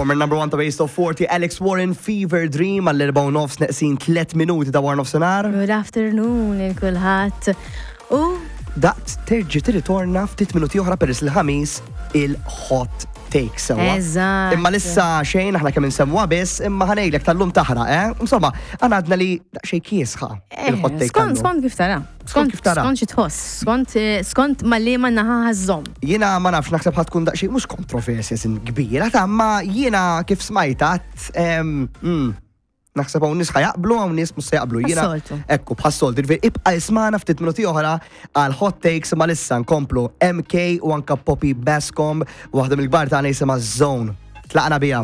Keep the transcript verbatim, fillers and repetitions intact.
Former number one ta' Base Top forty, Alex Warren, Fever Dream, għall-erbgħa u nofs neqsin tliet minuti ta' wara nofsinhar. Good afternoon lil kulħadd. U Daqt terġi tirritorna ftit minuti oħra peress il-Ħamis il-hot take sewa. Eżatt. Imma lissa xejn, aħna kemm insemmuha biss, imma ħa ngħidlek tal-lum taħraq, eh? Insomma, għana għadna li daqsxejn kiesħa il-hot take Eh, Skont tal-lum. skont kif tara. Skont kif tara. Skont xi tħoss, skont eh, skont ma li ma naħa ħażhom. Jiena ma nafx, naħseb ħa tkun daqsxejn mhux kontroversja sin kbira, ta' ma jiena kif smajta em, mm, naħseb hawn nies ħa jaqblu, hawn nies mhux se jaqblu. Jiena Bħas-soltu. Ekku, bħas-soltu. Ġifieri ibqa' ismagħna ftit minuti oħra għal hot takes, ma lissa nkomplu M K u anka Poppy Bascom, waħda mill-kbar tagħna jisimha Zone. Tlaqna biha.